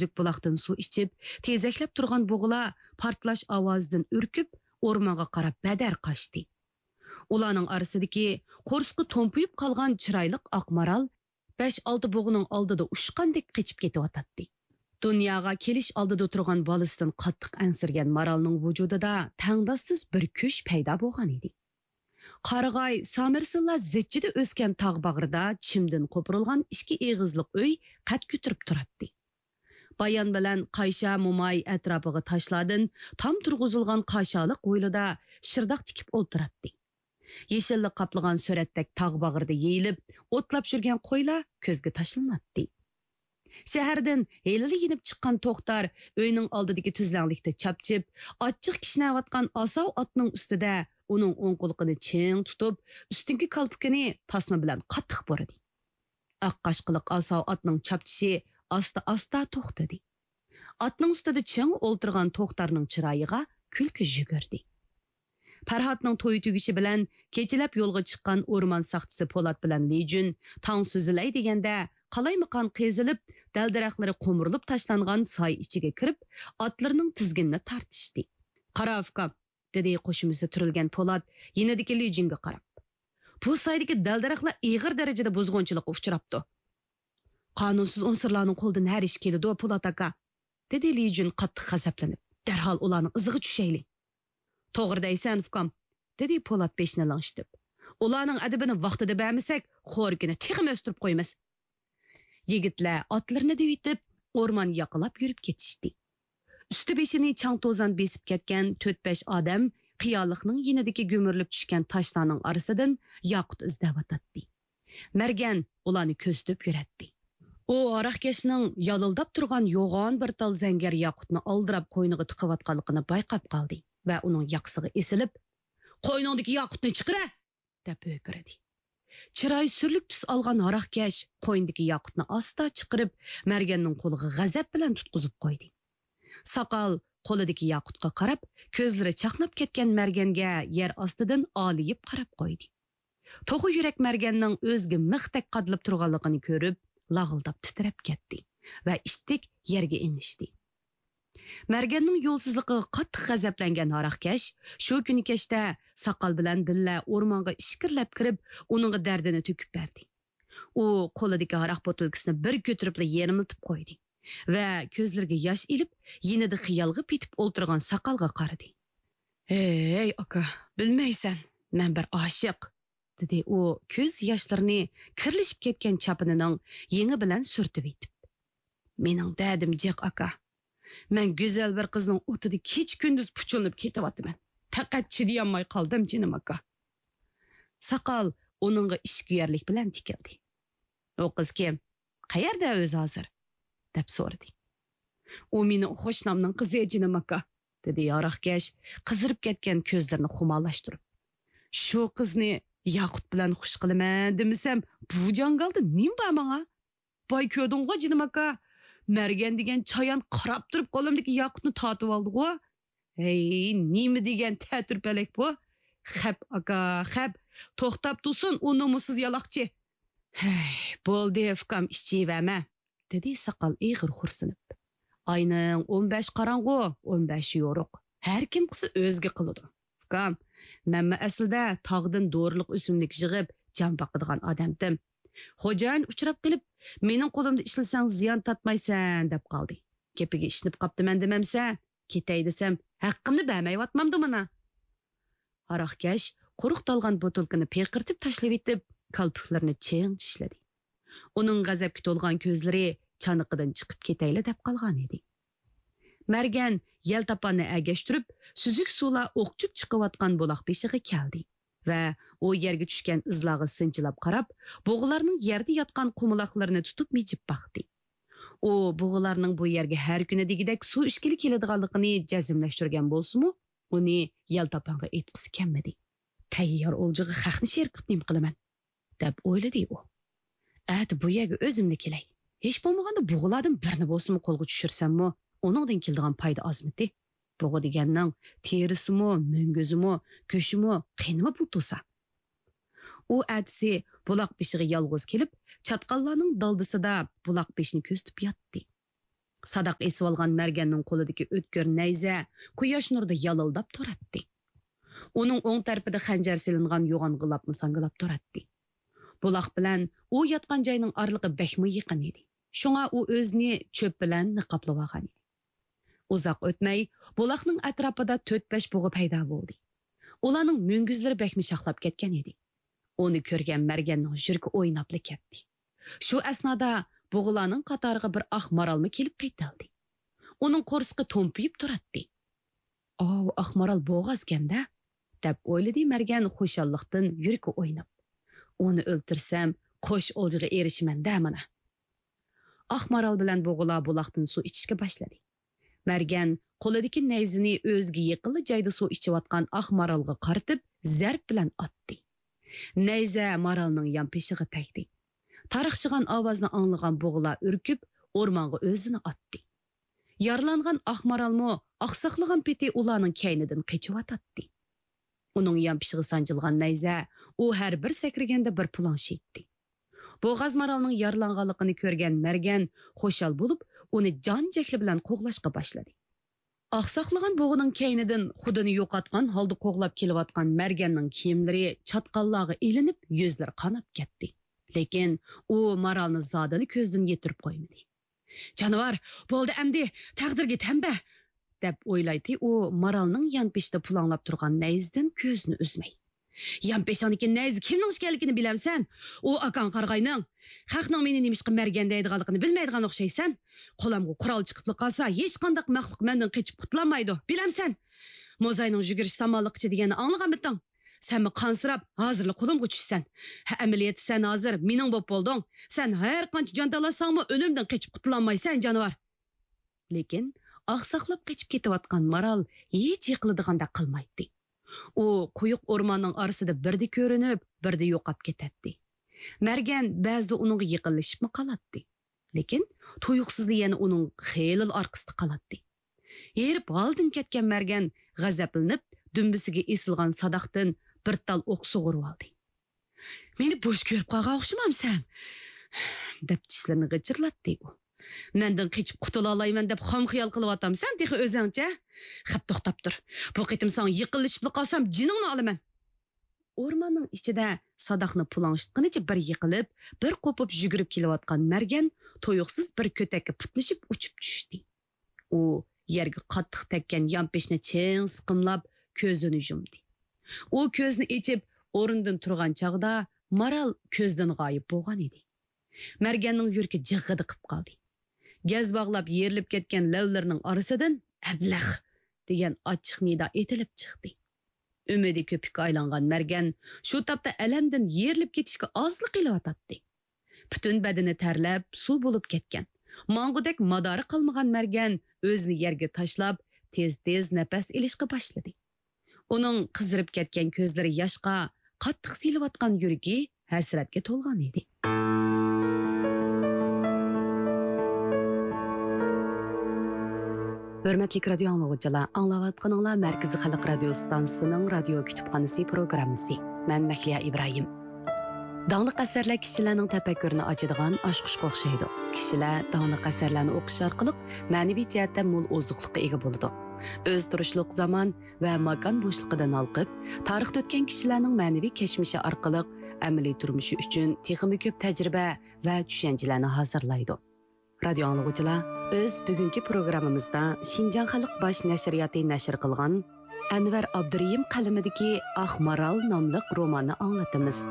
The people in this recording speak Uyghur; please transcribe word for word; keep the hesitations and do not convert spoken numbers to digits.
ئۈزۈك بۇلاقتىن سۇ ئىچىپ، تېزەكلەپ تۇرغان بۇغىلار پارتلاش ئاۋازىدىن ئۈركۈپ، ئورمانغا قاراپ بەدەر قاچتى. ئۇلارنىڭ ئارىسىدىكى قورسىقى تومپىيىپ قالغان چىرايلىق ئاق مارال بەش-ئالتە بۇغىنىڭ ئالدىدا ئۇچقاندەك قېچىپ كېتىۋاتاتتى. دۇنياغا كېلىش ئالدىدا تۇرغان بالىسىدىن قاتتىق ئەنسىرىگەن مارالنىڭ ۋۇجۇدىدا تەڭداشسىز بىر كۈچ پەيدا بولغان ئىدى. قارىغاي سامىرسىللا زىچچىدە ئۆسكەن تاغ باغرىدا چىمدىن قوپۇرۇلغان ئىككى ئېغىزلىق ئۆي قەد كۆتۈرۈپ تۇراتتى. بايان بىلەن قايشا موماي ئەتراپىغا تاشلاردىن تام تۇرغۇزۇلغان قاشالىق ھويلىدا شىرداق تىكىپ ئولتۇراتتى. يېشىللىق قاپلىغان سۈرەتتەك تاغ باغرىدا يېيىلىپ، ئوتلاپ يۈرگەن قويلار كۆزگە تاشلىناتتى. شەھەردىن ھېلىلا يېنىپ چىققان توختار ئۆينىڭ ئالدىدىكى تۈزلەڭلىكتە چاپچىپ، ئاچچىق كىشنەۋاتقان ئاساۋ ئاتنىڭ ئۈستىدە ئۇنىڭ ئوڭ قۇلىقىنى چىڭ تۇتۇپ، ئۈستۈنكى كالپۇكىنى تاسما بىلەن قاتتىق بۇرىدى. ئاق قاشقىلىق ئاساۋ ئاتنىڭ چاپچىشى ئاستا-ئاستا توختىدى. ئاتنىڭ ئۈستىدە چىڭ ئولتۇرغان توختارنىڭ چىرايىغا كۈلكە يۈگۈردى. پەرھاتنىڭ تويى تۈگىشى بىلەن كېچىلەپ يولغا چىققان ئورمان ساقچىسى پولات بىلەن لىجۈن تاڭ سۈزۈلەي دېگەندە، قالايمىقان قېزىلىپ، دەل-دەرەخلىرى قومۇرۇلۇپ تاشلانغان ساي ئىچىگە كىرىپ، ئاتلىرىنىڭ تىزگىنىنى تارتىشتى. «قارا، ئۇكام»، دېدى قوشۇمىسى تۈرۈلگەن پولات يېنىدىكى لىجۈنگە قاراپ. «بۇ سايدىكى دەل-دەرەخلەر ئېغىر دەرىجىدە بۇزغۇنچىلىققا ئۇچراپتۇ.» «قانۇنسىز ئۇنسۇرلارنىڭ قولىدىن ھەر ئىش كېلىدۇ، پولات ئاكا»، دېدى لىجۈن قاتتىق غەزەپلىنىپ. «دەرھال ئۇلارنىڭ ئىزىغا چۈشەيلى.» «توغرا دەيسەن، ئۇكام»، دېدى پولات بېشىنى لىڭشىتىپ. «ئۇلارنىڭ ئەدىپىنى ۋاقتىدا بەرمىسەك، خورىكىنى تېخىمۇ ئۆستۈرۈپ قويىمىز.» يىگىتلەر ئاتلىرىنى دېۋىتىپ، ئورمان ياقىلاپ يۈرۈپ كېتىشتى. ئۈستى بېشىنى چاڭ-توزان بېسىپ كەتكەن تۆت-بەش ئادەم قىيالىقنىڭ يېنىدىكى گۈمۈرۈلۈپ چۈشكەن تاشلارنىڭ ئارىسىدىن ياقۇت ئىزدەۋاتاتتى. مەرگەن ئۇلارنى كۆزىتىپ يۈرەتتى. ئۇ ھاراقكەشنىڭ يالىلداپ تۇرغان يوغان بىر تال زەڭگەر ياقۇتنى ئالدىراپ قوينىغا تىقىۋاتقانلىقىنى بايقاپ قالدى ۋە ئۇنىڭ ياقىسىغا ئېسىلىپ، «قوينۇڭدىكى ياقۇتنى چىقىرە!» دەپ ھۆركىرىدى. چىرايى سۈرلۈك تۈس ئالغان ھاراقكەش قوينىدىكى ياقۇتنى ئاستا چىقىرىپ، مەرگەننىڭ قولىغا غەزەپ بىلەن تۇتقۇزۇپ قويدى. ساقال قولىدىكى ياقۇتقا قاراپ، كۆزلىرى چاقناپ كەتكەن مەرگەنگە يەر ئاستىدىن ئالىيىپ قاراپ قويدى. توخۇ يۈرەك مەرگەننىڭ ئۆزىگە مىختەك قادىلىپ تۇرغانلىقىنى كۆرۈپ، لاغىلداپ تىترەپ كەتتى ۋە ئىتتىك يەرگە ئېڭىشتى. مەرگەننىڭ يولسىزلىقىغا قاتتىق غەزەپلەنگەن ھاراقكەش شۇ كۈنى كەچتە ساقال بىلەن بىللە ئورمانغا ئىچكىرىلەپ كىرىپ، ئۇنىڭغا دەردىنى تۆكۈپ بەردى. ئۇ قولىدىكى ھاراق بوتۇلكىسىنى بىر كۆتۈرۈپلا يېرىملىتىپ قويدى ۋە كۆزلىرىگە ياش ئېلىپ، يېنىدا خىيالغا پېتىپ ئولتۇرغان ساقالغا قارىدى. «ھەي، ئاكا، بىلمەيسەن، مەن بىر ئاشىق»، دېدى ئۇ كۆز ياشلىرىنى كىرلىشىپ كەتكەن چاپىنىنىڭ يېڭى بىلەن سۈرتۈۋېتىپ. «مېنىڭ دەردىم جىق، ئاكا. مەن گۈزەل بىر قىزنىڭ ئوتىدا كېچە-كۈندۈز پۇچۇلىنىپ كېتىۋاتىمەن. پەقەت چىدىيالماي قالدىم، جېنىم ئاكا.» ساقال ئۇنىڭغا ئىچكۈيەرلىك بىلەن تىكىلدى. «ئۇ قىز كىم؟ قەيەردە ئۆزى ھازىر؟» دەپ سورىدى. «ئۇ مېنىڭ قوشنامنىڭ قىزى، جېنىم ئاكا»، دېدى ھاراقكەش قىزىرىپ كەتكەن كۆزلىرىنى خۇمارلاشتۇرۇپ. «شۇ قىزنى ياقۇت بىلەن خۇش قىلىمەن دېمىسەم، بۇ جاڭگالدا نېمە بار ماڭا؟ باي كۆردۈڭغۇ، جېنىم ئاكا، مەرگەن دېگەن چايان قاراپ تۇرۇپ قولۇمدىكى ياقۇتنى تارتىۋالدىغۇ. ھەي، نېمە دېگەن تەتۈرپەلەك بۇ! خەپ، ئاكا، خەپ! توختاپ تۇرسۇن ئۇ نومۇسسىز يالاقچى!» «ھەي، بولدى، ئۇكام، ئىچىۋەرمە»، دېدى ساقال ئېغىر خورسىنىپ. «ئاينىڭ ئون بەش قاراڭغۇ، ئون بەش يورۇق. ھەر كىم قىلسا ئۆزىگە قىلىدۇ. ئۇكام، مەنمۇ ئەسلىدە تاغدىن دورىلىق ئۆسۈملۈك يىغىپ جان باقىدىغان ئادەمدىم. خوجايىن ئۇچراپ قېلىپ، مېنىڭ قولۇمدا ئىشلىسەڭ زىيان تارتمايسەن دەپ قالدى. گېپىگە ئىشىنىپ قاپتىمەن دېمەمسەن؟ كېتەي دېسەم، ھەققىمنى بەرمەيۋاتمامدۇ مانا؟» ھاراقكەش قۇرۇق تالغان بوتۇلكىنى پىرقىرىتىپ تاشلىۋېتىپ، كالپۇكلىرىنى چىڭ چىشلىدى. ئۇنىڭ غەزەپكە تولغان كۆزلىرى چانىقىدىن چىقىپ كېتەيلا دەپ قالغانىدى. مەرگەن يەلتاپاننى ئەگەشتۈرۈپ، سۈزۈك سۇلار ئوقچۇپ چىقىۋاتقان بۇلاق بېشىغا كەلدى ۋە ئۇ يەرگە چۈشكەن ئىزلارغا سىنچىلاپ قاراپ، بۇغىلارنىڭ يەردە ياتقان قۇمىلاقلىرىنى تۇتۇپ مىجىپ باقتى. ئۇ بۇغىلارنىڭ بۇ يەرگە ھەر كۈنى دېگۈدەك سۇ ئىچكىلى كېلىدىغانلىقىنى جەزملەشتۈرگەن بولسىمۇ، ئۇنى يەلتاپانغا ئېيتقۇسى كەلمىدى. «تەييار ئولجىغا خەقنى شېرىك قىلىپ نېمە قىلىمەن؟» دەپ ئويلىدى ئۇ. «ئەتە بۇ يەرگە ئۆزۈملا كېلەي. ھېچ بولمىغاندا بۇغىلاردىن بىرنى بولسىمۇ قولغا چۈشۈرسەممۇ، ئۇنىڭدىن كېلىدىغان پايدا ئازمىتى؟ بۇغا دېگەننىڭ تېرىسىمۇ، مۈڭگۈزىمۇ، گۆشىمۇ، قېنىمۇ پۇل تۇرسا.» ئۇ ئەتىسى بۇلاق بېشىغا يالغۇز كېلىپ، چاتقاللارنىڭ دالدىسىدا بۇلاق بېشىنى كۆزىتىپ ياتتى. ساداق ئېسىۋالغان مەرگەننىڭ قولىدىكى ئۆتكۈر نەيزە قۇياش نۇرىدا يالىلداپ تۇراتتى. ئۇنىڭ ئوڭ تەرىپىدە خەنجەر سېلىنغان يوغان غىلاپمۇ ساڭگىلاپ تۇراتتى. بۇلاق بىلەن ئۇ ياتقان جاينىڭ ئارىلىقى بەكمۇ يېقىن ئىدى. شۇڭا ئۇ ئۆزىنى چۆپ بىلەن نىقابلىۋالغان ئىدى. ئۇزاق ئۆتمەي، بۇلاقنىڭ ئەتراپىدا تۆت-بەش بۇغا پەيدا بولدى. ئۇلارنىڭ مۈڭگۈزلىرى بەكمۇ شاخلاپ كەتكەن ئىدى. ئۇنى كۆرگەن مەرگەننىڭ يۈرىكى ئويناپلا كەتتى. شۇ ئەسنادا بۇغىلارنىڭ قاتارىغا بىر ئاق مارالمۇ كېلىپ قېتىلدى. ئۇنىڭ قورسىقى تومپىيىپ تۇراتتى. «ئاۋۇ ئاق مارال بوغازكەن-دە!» دەپ ئويلىدى مەرگەن خۇشاللىقتىن يۈرىكى ئويناپ. «ئۇنى ئۆلتۈرسەم، قوش ئولجىغا ئېرىشىمەن-دە مانا!» ئاق مارال بىلەن بۇغىلار بۇلاقتىن سۇ ئىچىشكە باشلىدى. مەرگەن قولىدىكى نەيزىنى ئۆزىگە يېقىنلا جايدا سۇ ئىچىۋاتقان ئاق مارالغا قارىتىپ زەرب بىلەن ئاتتى. نەيزە مارالنىڭ يانپېشىغا تەگدى. تارىخچىغان ئاۋازنى ئاڭلىغان بۇغىلار ئۈركۈپ، ئورمانغا ئۆزىنى ئاتتى. يارىلانغان ئاق مارالمۇ ئاقساقلىغان پېتى ئۇلارنىڭ كەينىدىن قېچىۋاتاتتى. ئۇنىڭ يانپېشىغا سانجىلغان نەيزە ئۇ ھەر بىر سەكرىگەندە بىر پۇلاڭ شىيتتى. بوغاز مارالنىڭ يارىلانغانلىقىنى كۆرگەن مەرگەن خۇشال بولۇپ، ئۇنى جان جەھلى بىلەن قوغلاشقا باشلىدى. ئاقساقلىغان بۇغىنىڭ كەينىدىن خۇدىنى يوقاتقان ھالدا قوغلاپ كېلىۋاتقان مەرگەننىڭ كىيىملىرى چاتقاللارغا ئېلىنىپ، يۈزلىرى قاناپ كەتتى. لېكىن ئۇ مارالنى زادىلا كۆزدىن يىتىرىپ قويمىدى. «جانىۋار، بولدى ئەمدى، تەقدىرگە تەن بەر!» دەپ ئويلايتتى ئۇ مارالنىڭ يانپېشىدا پۇلاڭلاپ تۇرغان نەيزىدىن كۆزىنى ئۈزمەي. «يانپېشىڭدىكى نەيزە كىمنىڭ ئىكەنلىكىنى بىلەمسەن؟ ئۇ ئاكاڭ قارىغاينىڭ. خەقنىڭ مېنى نېمىشقا مەرگەن دەيدىغانلىقىنى بىلمەيدىغان ئوخشايسەن. قولامغا قورال چىقىپلا قالسا، ھېچقانداق مەخلۇق مەندىن قېچىپ قۇتۇلالمايدۇ، بىلەمسەن؟ موزاينىڭ يۈگۈرۈش سامانلىقىچە دېگەننى ئاڭلىغانمىدىڭ؟ سەنمۇ قانسىراپ، ھازىرلا قولۇمغا چۈشىسەن. ھە، ئەمەلىيەتتە سەن ھازىر مېنىڭ بولۇپ بولدۇڭ. سەن ھەر قانچە جان تالاشساڭمۇ، ئۆلۈمدىن قېچىپ قۇتۇلالمايسەن، جانىۋار!» لېكىن ئاقساقلاپ قېچىپ كېتىۋاتقان مارال ھېچ يىقىلىدىغاندەك قىلمايتتى. ئۇ قويۇق ئورماننىڭ ئارىسىدا بىردە كۆرۈنۈپ، بىردە يوقاپ كېتەتتى. مەرگەن بەزىدە ئۇنىڭغا يېقىنلىشىپمۇ قالاتتى. لېكىن تۇيۇقسىزلا يەنە ئۇنىڭ خېلىلا ئارقىسىدا قالاتتى. ھېرىپ ھالدىن كەتكەن مەرگەن غەزەپلىنىپ، دۈمبىسىگە ئېسىلغان ساداقتىن بىر تال ئوق سۇغۇرۇۋالدى. «مېنى بوش كۆرۈپ قالغان ئوخشىمامسەن؟» دەپ چىشلىرىنى غىچىرلاتتى ئۇ. «مەندىن قېچىپ قۇتۇلالايمەن دەپ خام خىيال قىلىۋاتامسەن تېخى ئۆزۈڭچە؟ خەپ، توختاپ تۇر. بۇ قېتىم ساڭا يېقىنلىشىپلا قالسام، جېنىڭنى ئالىمەن!» ئورماننىڭ ئىچىدە ساداقنى پۇلاڭشىتقىنىچە بىر يىقىلىپ، بىر قوپۇپ يۈگۈرۈپ كېلىۋاتقان مەرگەن تۇيۇقسىز بىر كۆتەككە پۇتلىشىپ ئۇچۇپ چۈشتى. ئۇ يەرگە قاتتىق تەگكەن يانپېشىنى چىڭ سىقىملاپ، كۆزىنى يۇمدى. ئۇ كۆزىنى ئېچىپ، ئورنىدىن تۇرغان چاغدا مارال كۆزدىن غايىب بولغان ئىدى. مەرگەننىڭ يۈرىكى جىغغىدە قىپ قالدى. گەز باغلاپ يېرىلىپ كەتكەن لەۋلىرىنىڭ ئارىسىدىن «ئەبلەخ!» دېگەن ئاچچىق نىدا ئېتىلىپ چىقتى. ئۈمىدى كۆپۈككە ئايلانغان مەرگەن شۇ تاپتا ئەلەمدىن يېرىلىپ كېتىشكە ئازلا قېلىۋاتاتتى. پۈتۈن بەدىنى تەرلەپ، سۇ بولۇپ كەتكەن، ماڭغۇدەك مادارى قالمىغان مەرگەن ئۆزىنى يەرگە تاشلاپ، تېز-تېز نەپەس ئېلىشقا باشلىدى. ئۇنىڭ قىزىرىپ كەتكەن كۆزلىرى ياشقا، قاتتىق سىيلىۋاتقان يۈرىكى ھەسرەتكە تولغان ئىدى. ھۆرمەتلىك رادىيو ئاڭلىغۇچىلار، ئاڭلاۋاتقىنىڭلار مەركىزىي خەلق رادىيو ئىستانسىسىنىڭ رادىيو كۇتۇپخانىسى پروگراممىسى. مەن مەھلىيا ئىبراھىم. داڭلىق ئەسەرلەر كىشىلەرنىڭ تەپەككۇرىنى ئاچىدىغان ئاچقۇچقا ئوخشايدۇ. كىشىلەر داڭلىق ئەسەرلەرنى ئوقۇش ئارقىلىق مەنىۋى جەھەتتە مول ئوزۇقلۇققا ئىگە بولىدۇ. ئۆز تۇرۇشلۇق زامان ۋە ماكان بوشلۇقىدىن ھالقىپ، تارىختا ئۆتكەن كىشىلەرنىڭ مەنىۋى كەچمىشى ئارقىلىق ئەمەلىي تۇرمۇشى ئۈچۈن تېخىمۇ كۆپ تەجرىبە ۋە چۈشەنچىلەرنى ھازىرلايدۇ. رادىيو ئاڭلىغۇچىلار، بىز بۈگۈنكى پروگراممىمىزدا شىنجاڭ خەلق باش نەشرىياتى نەشر قىلغان ئەنۋەر ئابدۇرېھىم قەلىمىدىكى ئاق مارال ناملىق روماننى ئاڭلىتىمىز.